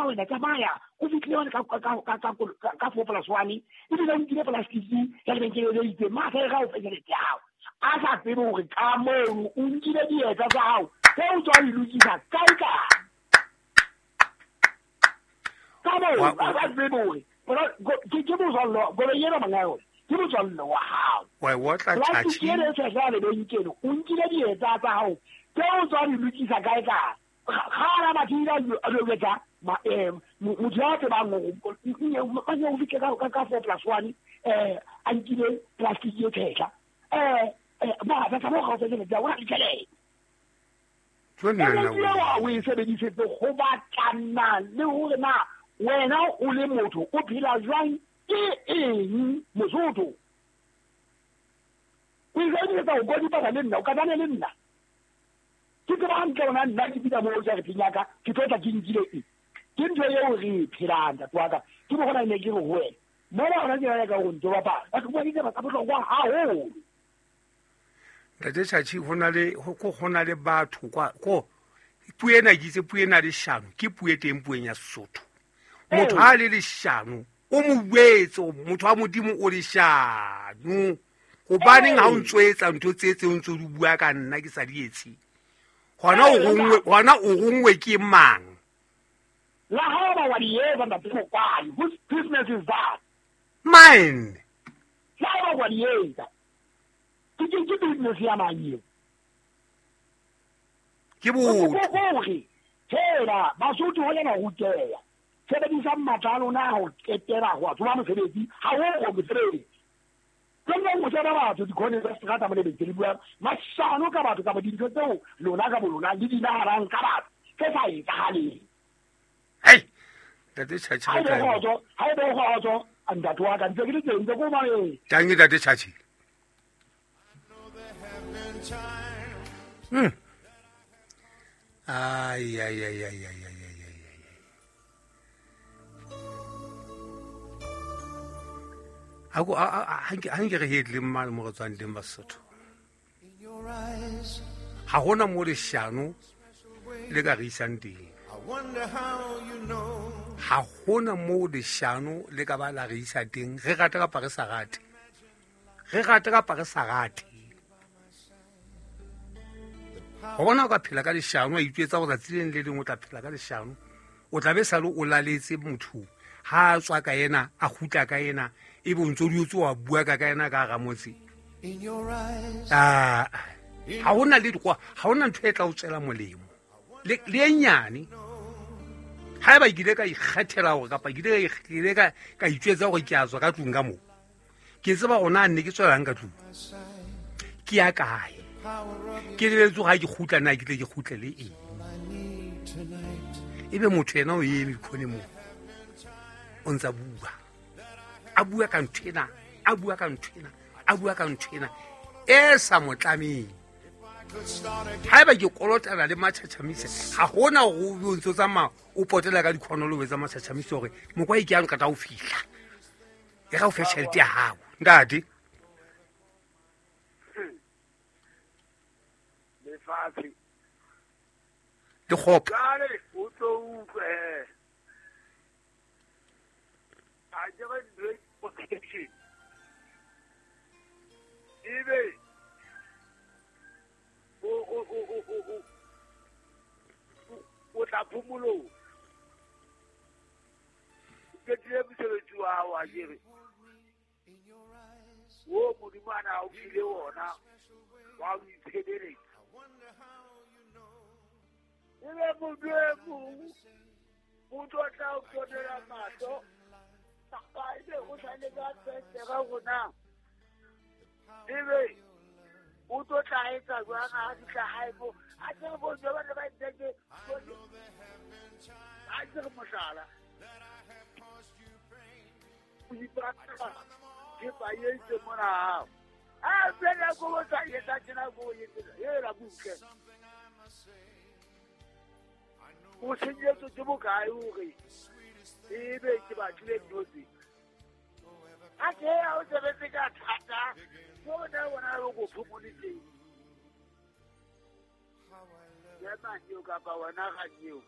wena tsamaya o fitlhile one ka 4+1 ebile o nkile plastiki ya lebenkele le itseng mafe ga o fe tšhelete ya gago a sa tsebe gore ka mono o nkile dieta tsa gago tse o tswa di lokisa kae kae ka moo a sa tsebe gore ke motswallo koloi ena monga yone ke motswallo wa gago wa e otla plastiki ena e tshehla ya lebenkele o nkile dieta tsa gago tse o tswa di lokisa kae kae ga batho a loketsa motho ya tsebang gore o fitlhe ka 4+1 a nkile plastiki e tshehla ba mo ga o tšhelete o na le tšhelete o e sebedisetse go batlana le gore na wena o le motho o phela jwang ke eng Mosotho o e sebedisetsa go kodipana le nna o katane le nna ke tseba hantle ona nna ke fihla moo jareteng ya ka ke tlo tla ke nkile eng ke ntho eo re e phelang ntate wa ka ke mo gona ne ke re ho wena mola gona ke nyaka go ntse bapala batho bua ditaba tsa bohlokwa haholo. Ntate Tjatji ho na le go na le batho kwa ko puo ena ke itse puo ena leshano ke puo e teng pueng ya Sesotho. Motho ha le leshano o mo buetse motho wa Modimo o leshano hobaneng ha o ntso etsa ntho tse tse o ntso di bua ka nna ke sa di etse hona o rongwe ke mang la ha ba wa di etsa ntate Mokwadi whose business is that mine la ha ba wa di etsa ke business ya mang eo ke botho gore fela Basotho ho lena ruteya sebedisang matla a lona ho qetela ho tsoma mosebetsi ha o go mosebetsi ke mo tsena batho dikhone tsa seterata mo lebetse le bua mashano ka batho kapa dintho tseo lona ka bolona le di nahanang ka batho tse sa etsahaleng. Hei ntate Tjatji ha ebe kgotso ntate wa ka ntse ke le teng ntse ko mameng tangi ntate Tjatji. Ai ai ai ai ai ai ai ai. Ako ha nke re hetle mmane mo re tswang teng Basotho. Ha hona mo leshano le ka re isang teng. Ha hona mo leshano le ka ba la re isa teng re rata kapa re sa rate. Re rata kapa re sa rate. Ho bona o ka phela ka leshano a itwetsa gore tsatsi le leng o tla phela ka leshano o tla be sale o laletse motho ha a tswa ka ena a kgutla ka ena e be o ntso di o wa bua ka ena ka hara motse. Ha hona le ha hona ntho e tla o tswela molemo le e nyane. Haeba ke ile ka ikgethela hore kapa ke ile ka itjwetsa hore ke a tswa ka tlung ka moo ke tseba hore na ne ke tswelang ka tlung ke ya kae ke lebetse ha ke kgutla na ke tle ke kgutle le eng ebe motho yena o eme khone moo o ntsa bua a bua ka ntho ena a bua ka ntho ena a bua ka ntho ena e sa mo tlameng. Haeba ke kolotana le matjhatjhamise ha hona hore o ntso tsamaya o potela ka dikhono le o etsa matjhatjhamise hore mokwa e ke yang kata o fihla e ga o fe tjhelete ya hao ntate lefatshe le kgopo o tlo utlwe a jere great protection ebe o tla phomolong o qetile mosebetsi wa hao a jere o Modimo a na o file ona wa o itshebeletsa ebe motho e mong motho o tla o tonela mahlo kapa ebe o sale ka fentere rona ebe o tlo tla etsa jwang ha fihla hae mo a tsere bomme ba ne ba nteke a tsere mohlala o ipatla thepa e itse mona hao a fela ko o sa etsa tjena ko o etsa hela butle o senyetswe ke bokae hore ebe ke batlile ntho tse a ke a o sebetse ka thata bona bona o go phomoletseng ya mang eo kapa wena ga eo